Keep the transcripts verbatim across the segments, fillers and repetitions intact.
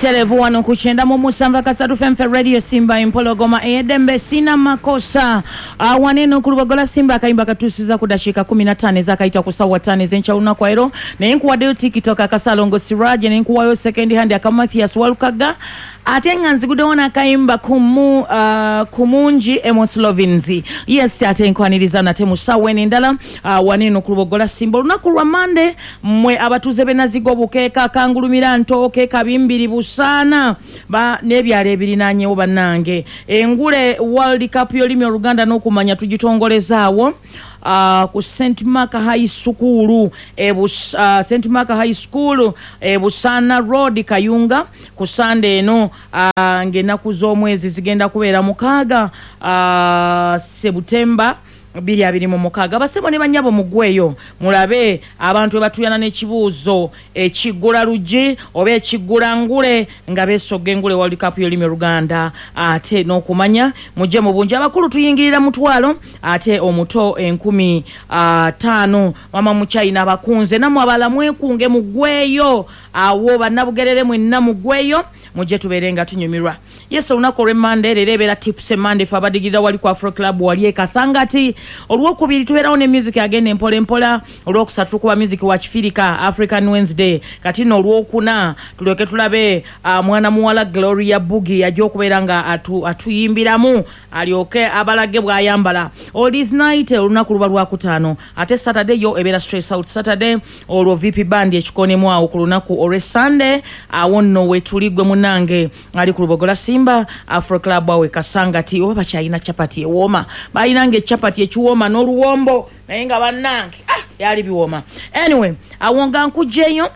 Butereevu wano ku kyenda mu musanvu akasatu F M Radio Simba, Empologoma ey'eddembe. Sina makosa. uh, waneno ku Lubogola Simba, akayimba katuusiza ku dakiika kumi na ttaano ezakayita ku ssaawa ttaano ez'enkya lunaku leero. Naye nkuwaddeyo TikTok akasalongo Siraje, naye nkuwayo second hand aka Mathias Walukaga, ate nga nziguddewo n'akayimba kumu, uh, kumungi Emos Lovins. Yes, ate nkwaniriza nate mu ssaawa eno endala uh, waneno ku Lubogola Simba, olunaku lwa Mande. Mmwe abatuuze b'e Nazigo, Bukeeka, Kangulumira, Ntooke, Kabimbiri, Busaana n'ebyalo ebirinaanyewo, bannange, engule World Cup y'olulimi Oluganda n'okumanya tugitongolezaawo uh, ku Saint Mark High School e uh, Saint Mark High School e Busaana Road, Kayunga, ku Sande eno uh, ng'ennaku z'omwezi zigenda kubeera mukaaga uh, Sebutemba bbiri abiri mu mukaaga. Basebo ne banyabo, mugweyo mulabe abantu batuyana n'ekibuuzo ekiggula luggi oba ekiggula ngule nga beesogga engule World Cup y'olulimi Oluganda ate n'okumanya. Mujje mu bungi. Abakulu tuyingirira mutwalo, ate omuto enkumi taano. Mama mukyayina abakunze, nammwe abalala mwekunge, mugweyo awo. Bannabugerere mwenna mugweyo, mujje tubeere nga tunyumirwa. Yes, olunaku olw'emmande leero ebeera Tips Emande, fe abadigirira wali ku Afro Club wali e Kasangati. Olwokubiri tubeerawo ne music agenda empola empola. Olwokusatu tukuba music wa Kifirika, African Wednesday. Kati nno olwokuna tulyoke tulabe uh, mwana muwala Gloria Bugi ajja okubeera nga atu, atuyimbiramu, alyoke abalage bw'ayambala. Oldies Night olunaku luba lwakutaano, ate Saturday yo ebeera Stress Out Saturday. Olwo V P Band ekikonemu awo ku lunaku olw'e Sunday. Awo nno wetuli, gwe munange ali ku Lubogola Simba, Afro Club awe Kasangati. Oba bakyalina chapati ewooma? Balinanga echapati ekiwooma n'oluwombo, naye nga bannange, ah, byali biwooma. Anyway, awo nga nkugjeyo,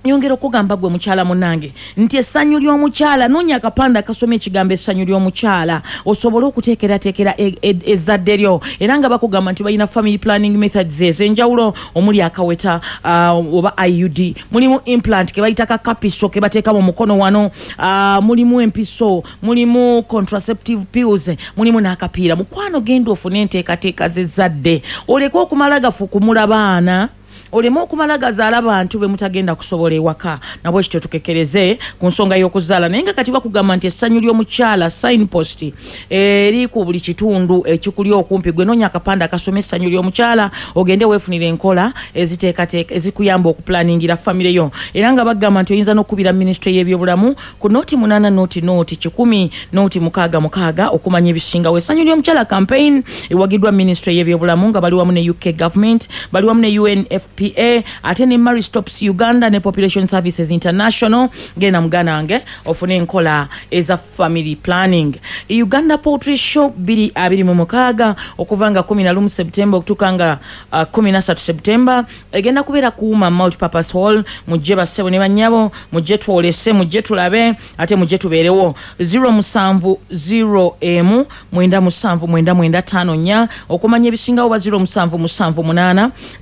nyongera okugamba gwe mukyala munange nti essanyu ly'omukyala, noonya akapande akasoma ekigambo essanyu ly'omukyala osobole okuteekerateekera e- e- ezzadde lyo. Era nga bakugamba nti balina family planning methods ez'enjawulo omuli akaweta uh, oba I U D, mulimu implant ke bayita kakapiso ke bateeka mu mukono wano, uh, mulimu empiso, mulimu contraceptive pills, mulimu n'akapiira. Mukwano, genda ofune enteekateeka z'ezzadde, oleke okumala gafukumula baana, oleme okumala gazaala bantu be mutagenda kusobola ewaka. Nabwe kityo tukekereze ku nsonga y'okuzaala. Naye nga kati bakugamba nti essanyu ly'omukyala signpost eri ku buli kitundu ekikuli okumpi. Gwe noonya akapande akasoma essanyu ly'omukyala, ogende weefunire enkola eziteekateeka ezikuyamba okuplaningira famire yo. Era nga bagamba nti oyinza n'okukubira minisitule y'ebyobulamu ku nooti munaana nooti nooti kikumi nooti mukaaga mukaaga okumanya ebisingawo. Essanyu ly'omukyala campaign ewagiddwa minisitule y'ebyobulamu nga bali wamu ne U K government, bali wamu ne U N F P A, ate ne Marie Stopes Uganda ne Population Services International. Genda muganda wange ofune enkola eza family planning. Uganda Poultry Show bbiri abiri mu mukaaga, okuva nga kumi na lumu September okutuuka nga uh, kumi na ssatu September, egenda kubeera kuuma Multipurpose Hall. Mujje bassebo ne bannyabo, mujje twolese, mujje tulabe, ate mujje tubeerewo. zero seven zero emu mwenda musanvu mwenda mwenda ttaano nnya okumanya ebisingawo, ba zero seven seven eight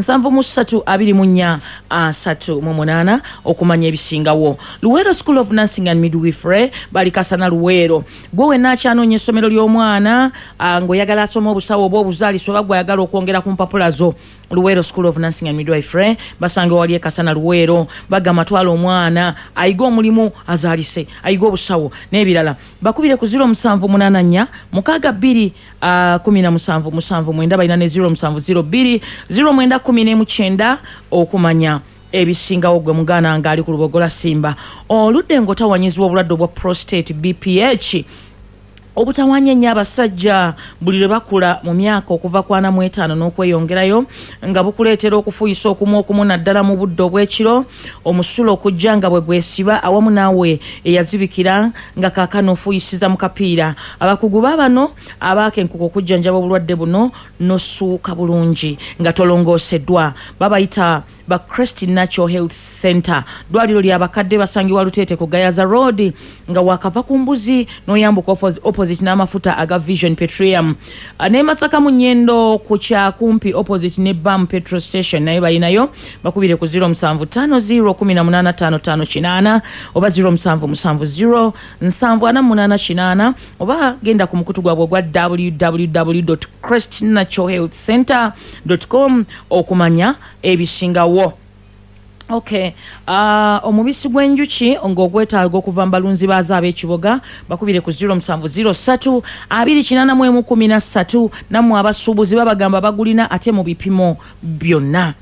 seven three twenty-four thirty-eight okumanya ebisingawo. Luweero School of Nursing and Midwifery bali Kasana, Luweero. Gwe wenna akyanoonya essomero ly'omwana ah, ng'oyagala asoma obusawo oba obuzaalisa, oba gw'ayagala okwongera ku mpapula zo, Luweero School of Nursing and Midwifery basange wali e Kasana, Luweero. Bagamba twala omwana ayige omulimu, azaalise, ayige obusawo n'ebirala. Bakubire ku zero seven eight four six two seventeen seven nine. Balina ne zero seven zero two zero nine nineteen okumanya ebisingawo. Gwe muganda nga ali ku Lubogola Simba, oludde ng'otawanyizibwa obulwadde obwa prostate, B P H, obutawanya ennyo abasajja buli lwe bakula mu myaka okuva ku ana mu etaano n'okweyongerayo, nga bukuleetera okufuuyisa okumu okumu naddala mu budde obw'ekiro, omusulo okujja nga bwe gwesiba awamu naawe eyazibikira nga kaakano ofuuyisiza mu kapiira. Abakugu baabano abaakenkuka okujjanjaba obulwadde buno n'osuuka bulungi nga tolongooseddwa babayita ba Crest Natural Health Center. Ddwaliro lyabakadde, basangibwa Luteete ku Gayaza Road nga wakava ku mbuzi n'oyambuka opposite n'amafuta aga Vision Petroleum. Ah, ne Masaka mu Nyendo ku Kyakumpi opposite ne Bam petrol station naye balinayo. Bakubire ku zero seven five zero eighteen fifty-five eighty oba zero seven seven zero seven four eight eight oba genda ku mukutu gwabwe ogwa W W W crestnaturalhealthcenter com okumanya ebisingawo. Okay, Uh, omubisi gw'enjuki ng'ogwetaaga okuva mu balunzi baazo ab'ekiboga bakubire ku ziro musanvu ziro ssatu abiri kinaana mu emu kumi na ssatu. Nammwe abasuubuzi babagamba bagulina ate mu bipimo byonna.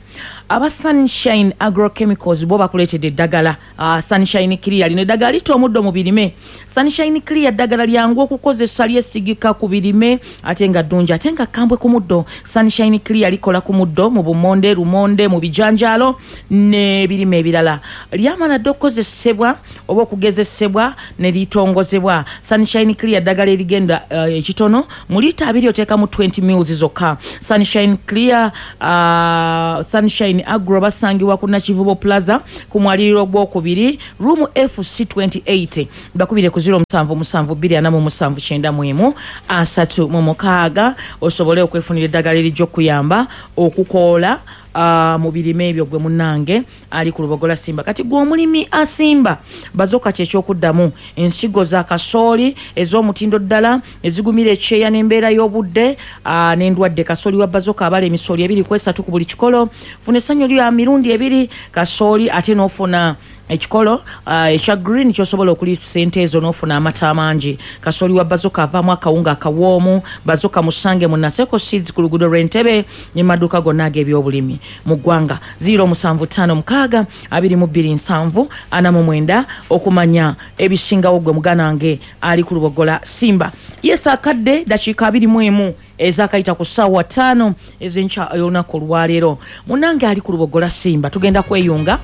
Aba Sunshine Agrochemicals bo bakuleetedde eddagala uh, Sunshine Clear. Lino eddagala litta omuddo mu birime. Sunshine Clear ddagala lyangu okukozesa, lyesigika ku birime ate nga ddungi ate nga kkambwe ku muddo. Sunshine Clear likola ku muddo mu bumonde, lumonde, mu bijanjaalo n'ebirime ebirala. Lyamala dda okukozesebwa oba okugezesebwa ne litongozebwa. Sunshine Clear ddagala erigenda uh, ekitono mu liita abiri oteekamu twenty mils zokka. Sunshine Clear uh, Sunshine Agro basangibwa ku Nakivubo Plaza ku mwaliriro ogwokubiri room F C twenty-eight. Bakubire ku ziro musanvu musanvu bbiri ana mu musanvu kyenda mu emu asatu mu mukaaga osobole okwefunira eddagala erijja okuyamba okukoola uh, mu birime ebyo gwe munnange ali ku Lubogola Simba. Kati gwe omulimi asimba Bazooka kyekyokuddamu ensigo za kasooli ez'omutindo ddala ezigumira ekyeya n'embeera y'obudde uh, n'endwadde. Kasooli wa Bazooka abala emisooli ebiri ku esatu ku buli kikolo. Funa essanyu lya mirundi ebiri kasooli ate n'ofuna ekikolo uh, ekya green kyosobola okuliisa sente ezo n'ofuna amata amangi. Kasooli wa Bazooka avaamu akawunga akawoomu. Bazooka musange mu Naseko Seeds ku luguudo lw'Entebe ne maduuka gonna ag'ebyobulimi mu ggwanga. Ziro musanvu ttaano mukaaga abiri mu bbiri nsanvu ana mu mwenda okumanya ebisingawo gwe muganda wange ali ku Lubogola Simba. Yes, akadde dakiika abiri mu emu ezakayita ku ssaawa ttaano ez'enkya y'olunaku olwaleero. Munnange ali ku Lubogola Simba tugenda kweyunga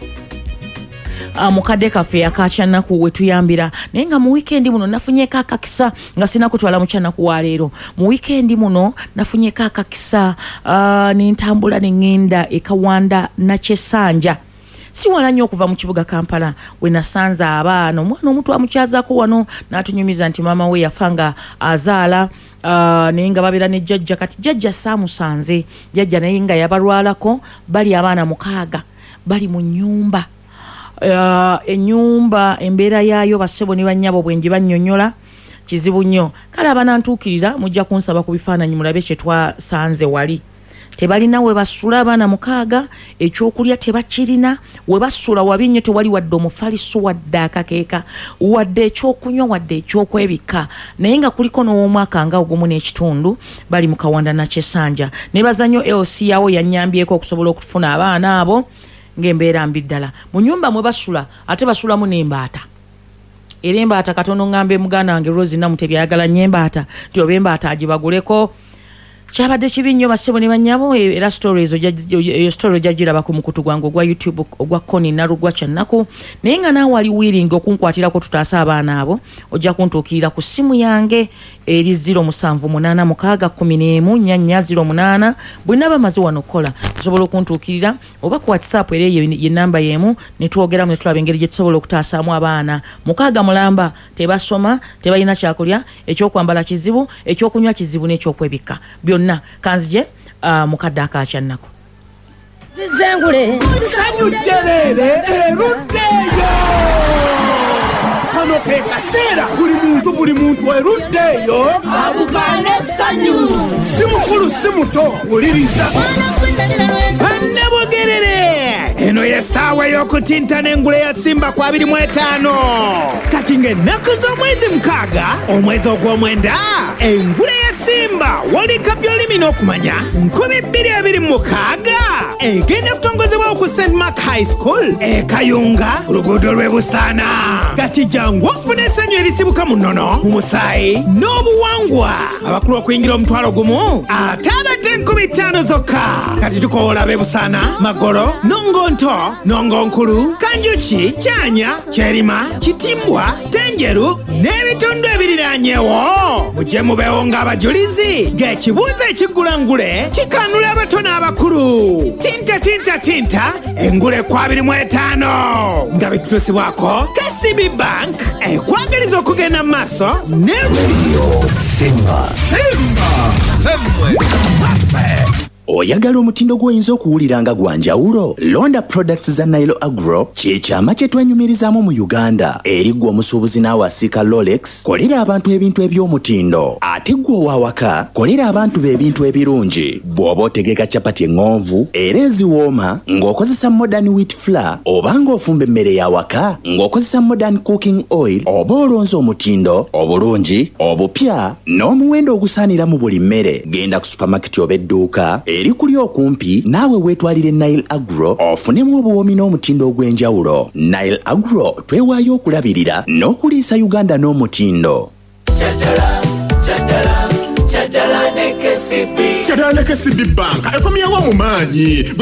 Uh, mukadde kaffe akakyanaku wetuyambira, naye nga mu weekend muno nafunyeko akakisa nga sinakutwala mu kyanaku wa leero. Mu weekend muno nafunyeko akakisa uh, nentambula neŋŋenda e Kawanda Nakyesanja, si wala nnyo okuva mu kibuga Kampala, we nasanze abaana. Omwana omuto amukyazaako wano n'atunyumiza nti maama we yafa nga azaala uh, naye nga babeera ne jjajja. Kati jjajja saamusanze, jjajja naye nga yabalwalako. Bali abaana mukaaga bali mu nnyumba. Uh, ennyumba embeera yaayo bassebo ne bannyabo bwe ngibannyonnyola kizibu nnyo. Kale abanantuukirira mujja kunsaba ku bifaananyi mulabe kye twasanze wali. Tebalina we basula abaana mukaaga, ekyokulya tebakirina, we basula wabi nnyo, tewali wadde omufaliso wadde akakeeka wadde ekyokunywa wadde ekyokwebikka, naye nga kuliko n'ow'omwaka nga ogumu n'ekitundu. Bali mu Kawanda Nakyesanja. Nebaza nnyo L C yawo yannyambyeko okusobola okufuna abaana abo ng'embeera mbi ddala. Mu nnyumba mwe basula ate basulamu n'embaata. Era embaata katono ŋŋambe muganda wange Rose Namutebi ayagala nnyo embaata nti oba embaata agibaguleko. Kyabadde kibi nnyo bassebo ne bannyabo. Era story ezo eyo story ojja giraba ku mukutu gwange ogwa YouTube ogwa Connie Nalugwa Kyannaku. Naye nga naawe ali willing okunkwatirako tutaase abaana abo, ojja kuntuukirira ku ssimu yange eri ziro musanvu munaana mukaaga kkumi n'emu nnya nnya ziro munaana. Bwe naba maze wano okukola osobola okuntuukirira oba ku WhatsApp, era eyo ye namba y'emu ne twogeramu ne tulaba engeri gye tusobola okutaasaamu abaana mukaaga mulamba. Tebasoma, tebalina kyakulya, ekyokwambala kizibu, ekyokunywa kizibu n'ekyokwebikka byonna. Kanzije uh, mukadde akakyannako zizengule sanyu jjerere eruddeeyo. Kano ke kaseera buli muntu buli muntu eruddeeyo abugane essanyu. Si mukulu si muto, wuliriza Bannabugerere. Eno y'essaawa ey'okutintana engule ya Simba ku abiri mu etaano. Kati ng'ennaku z'omwezi mukaaga omwezi ogw'omwenda engule ya Simba World Cup y'olulimi n'okumanya nkumi bbiri abiri mu mukaaga egenda kutongozebwawo ku Saint Mark High School e Kayunga ku luguudo lw'e Busaana. Kati jangu ofune essanyu erisibuka mu nnono, mu musaayi n'obuwangwa. Abakulu okuyingira omutwalo gumu ate abato enkumi ttaano zokka. Kati tukoola ab'e Busaana, Magolo, Nongonto, Nongonkulu, Kanjuki, Kyanya, Kyerima, Kitimbwa, Tenjeru n'ebitundu ebiriraanyewo. Mujje mubeewo ng'abajulizi ng'ekibuuzo ekiggulangule kikanula abato n'abakulu. Tinta tinta tinta engule ku abiri mu etaano nga bitutuusibwako K C B Bank ekwagaliza okugenda mu maaso ne Simba. Simba. Femwe. Oyagala omutindo gw'oyinza okuwulira nga gwa njawulo? Londa products za Nile Agro, kye kyama kye twenyumirizaamu mu Uganda. Eri ggwe omusuubuzi naawe asiika Rolex, kolera abantu ebintu eby'omutindo. Ate ggwe ow'awaka, kolera abantu be ebintu ebirungi. Bw'oba otegeka capati eŋŋonvu era eziwooma ng'okozesa Modern Wheat Flour, oba ng'ofumba emmere y'awaka ng'okozesa Modern Cooking Oil, oba olonze omutindo, obulungi, obupya n'omuwendo ogusaanira mu buli mmere. Genda ku supermarket oba edduuka eri kuli okumpi naawe weetwalire Nile Agro ofunemu obuwoomi n'omutindo ogw'enjawulo. Nile Agro, twewaayo okulabirira n'okuliisa Uganda n'omutindo. Kyadala ne K C B Bank ekomyewo mu maanyi gwe.